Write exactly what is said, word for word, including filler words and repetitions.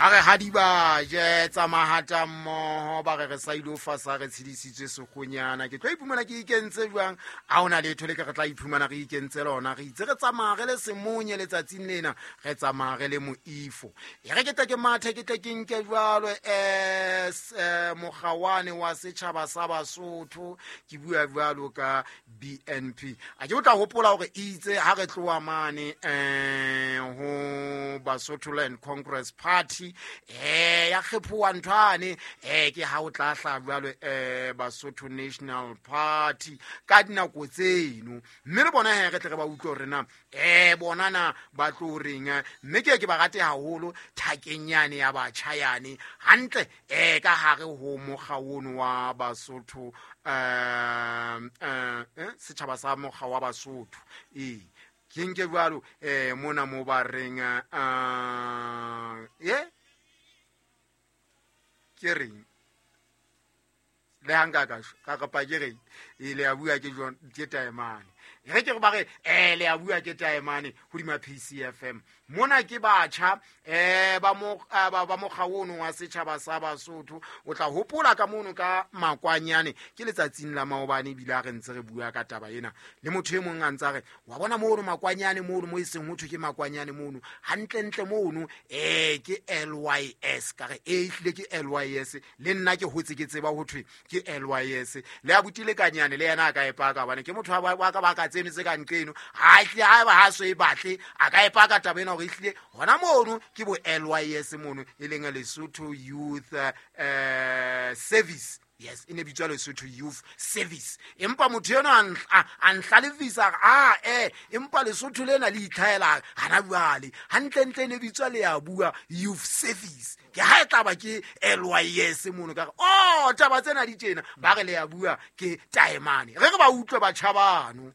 Ba re ha di ba je tsa mahata mmoho, ba re re sa ilo fasa re tshedisitswe sekgonyana. Ke tlo iphumana ke ikentse jwang? Ha hona letho le ke re tla iphumana re ikentse lona. Re itse re tsamaya re le semonye letsatsing lena, re tsamaya re le moifo. E re ke tle ke mathe, ke tle ke nke jwalo eh mokgawane wa setjhaba sa Basotho, ke bua jwalo ka B N P. A ke o tla hopola hore itse ha re tloha mane eh ho Basotho Land Congress Party, eh ya kgephoha nthwane, eh ke ha o tla hla jwalo eh Basotho National Party ka dinako tseno. Mme re bona he re tle re ba utlwe hore na eh bona na ba tlo reng, mme ke ke ba rate haholo thakeng yane ya batjha yane hantle eh ka hare ho mokga ono wa Basotho, eh eh setjhaba sa mokga wa Basotho. Eh ke nke jwalo eh mona mo ba reng eh ye ke reng le hanga ka ka kapa ke reng e le a bua ke John ke Taemane. Re ke ba re eh le a bua ke Taemane hodima P C F M. Mona ke batjha eh ba mo ba ba mokga ono wa setjhaba sa Basotho. O tla hopola ka mono ka makwanyane ke letsatsing la maobane ebile a re ntse re bua ka taba ena le motho e mong a ntsa re wa bona mono makwanyane mono mo e seng ho thwe ke makwanyane mono hantle ntle mono eh ke L Y S. Ka re e hlile ke L Y S, le nna ke hotse ke tseba ho thwe ke L Y S. Le a butile kanyane le yena a ka epaka bana ke motho wa ka ba ka tseno tse ka nqeno ha hle ha ba ha so e batle a ka epaka taba ena hore ehlile hona mono ke bo L Y S mono e leng Lesotho Youth eh Service. Yes, e ne bitswa Lesotho Youth Service. Empa motho ena a nhlalefisa a eh empa Lesotho lena le itlhaela hana jwale hantle ntle ne bitswa le ya bua Youth Service. Ke ha e tla ba ke L Y S mono ka re oh taba tsena di tjena ba re le ya bua ke Taemane. Re re ba utlwe batjha bano.